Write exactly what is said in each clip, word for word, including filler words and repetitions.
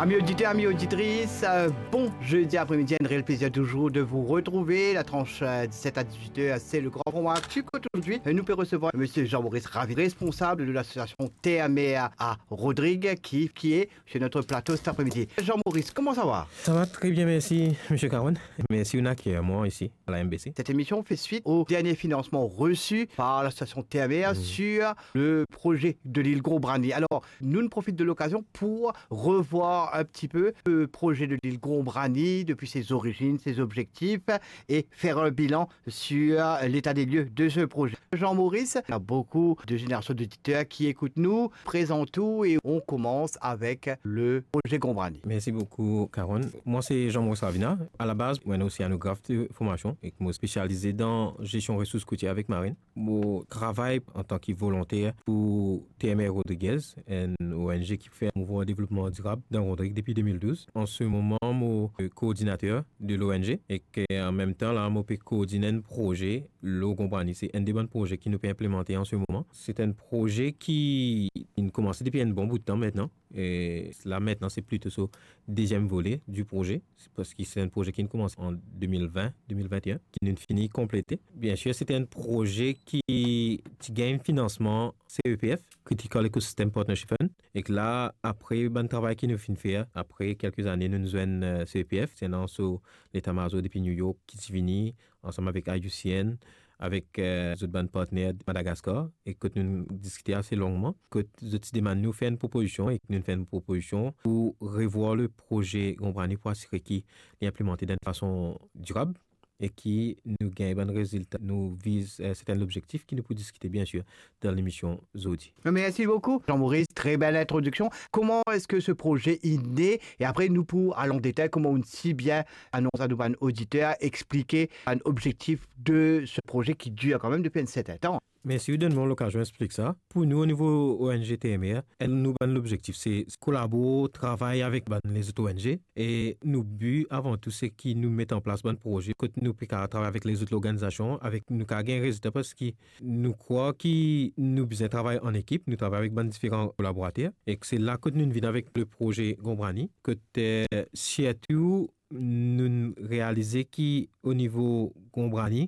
Amis auditeurs, amis auditrices, euh, bon jeudi après-midi, un réel plaisir toujours de vous retrouver. La tranche, euh, dix-sept à dix-huit heures, c'est le grand format Actu Cote. Aujourd'hui, euh, nous pouvons recevoir monsieur Jean-Maurice Ravi, responsable de l'association Terre-Mer à Rodrigues, qui, qui est sur notre plateau cet après-midi. Jean-Maurice, comment ça va ? Ça va très bien, merci, monsieur Caron. Merci de m'accueillir moi ici, à la M B C. Cette émission fait suite au dernier financement reçu par l'association Terre-Mer sur le projet de l'île Gombrani. Alors, nous profitons de l'occasion pour revoir un petit peu le projet de l'île Gombrani depuis ses origines, ses objectifs et faire un bilan sur l'état des lieux de ce projet. Jean-Maurice, il y a beaucoup de générations d'auditeurs qui écoutent nous. Présente-toi et on commence avec le projet Gombrani. Merci beaucoup, Caron. Moi, c'est Jean-Maurice Ravina. À la base, moi, je suis océanographe de formation et je suis spécialisé dans gestion ressources côtières avec marine. Mo travay antan ki volonter pou Terre-Mer Rodrigues, enn O N G ki fer mouvman devlopman dirab dan Rodrig depi de mil douz. An se moman, mo, euh, koordinater de l'O N G ek, euh, an mem tan la, mo pe koordinn enn proze lor Gombrani. Se enn de bann proze ki nou pe inplimante an se moman. Se enn proze ki, ki inn komanse depi enn bon bout tan aster. E la aster, se plito so deziem vole di proze, se parski se enn proze ki inn komanse an de mil vin, de mil vin e enn, ki nou'nn fini konplete. Biensir, se enn proze ki ti gagn finansman C E P F, Critical Ecosystem Partnership Fund, ek la, apre bann travay ki nou finn fer, apre kelke zane, nou'nn zwenn, euh, C E P F, se enn so leta-mazor depi New York ki ti vini, ansam avek I U C N, avek, euh, zot bann partner Madagaskar, e kot nou'nn diskite ase longman, kot zot ti demann nou fer enn propozision, e nou'nn fer enn propozision pou revwar le proze Gombrani pou asire ki li inplimante dan enn fason dirab e ki nou gagn bann rezilta nou viz, euh, serten lobzektif ki nou pou diskite, biensir, dan lemision zordi. Merci beaucoup, Jean-Maurice. Très belle introduction. Comment est-ce que ce projet est né ? Et après, nous pour aller en détail, comment on si bien annonce à nos auditeur, explike bann objektif de ce projet qui dure quand même depuis un certain temps. Mersi, ou donn mwa lokazion explik sa. Pou nou, o nivo O N G Terre-Mer, enn nou bann lobzektif, se kolabore, travay avek bann lezot O N G. E nou bi, avan tou, se ki nou met an plas bann proze kot nou pe kapav travay avek lezot lorganizasion, avek nou kapav gagn rezilta, parski nou krwar ki nou bizin travay an ekip, nou travay avek bann diferan kolaborater. E se la kot nou vinn avek le proze Gombrani, kot, eh, sirtou nou realize ki o nivo Gombrani,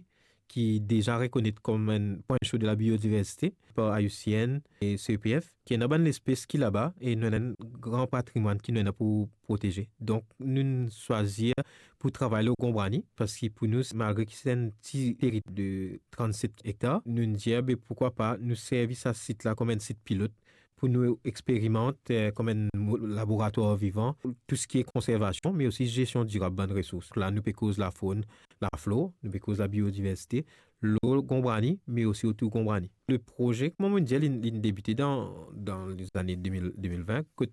ki deza rekonet kom enn pwin so de la biodiversite par I U C N e C E P F, ki ena bann lespes ki laba e nou ena enn gran patrimwann ki nou ena pou proteze. Donk, nou swazir pou travay lor Gombrani, parski pou nou, malgre ki se enn ti teri de trannset ektar, nou dir, be, poukwa pa nou servi sa sit la kom enn sit pilot pou nou experimant, eh, kom enn mo-, laboratwar vivan, tou seki konservasion, me osi zestion dirab bann resours. La, nou pe koz lafonn, laflor, nou pe koz labiodiversite, lor Gombrani, me osi otour Gombrani. Le proze, kouma mo dir, li, li debite dan, dan lezane de mil, de mil vin, kot,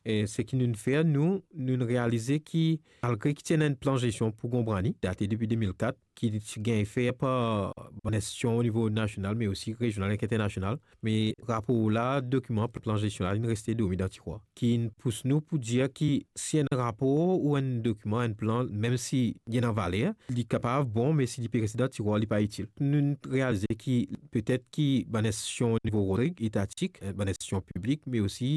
eh, seki nou fer, nou, nou realize ki, malgre ki ti ena enn plan zestion pou Gombrani, date depi de mil kat, ki ti gagn fer par bann institisyon o nivo nasional, me osi rezional ek internasional. Me rapor la, dokiman plan zestion la, li reste dormi dan tirwar. Ki pous nou pou dir ki si enn rapor ou enn dokiman, enn plan, mem si li ena valer, li kapav bon, me si li pe reste dan tirwar, li pa itil. Nou realize ki petet ki bann institisyon o nivo Rodrig, etatik, bann institisyon piblik, me osi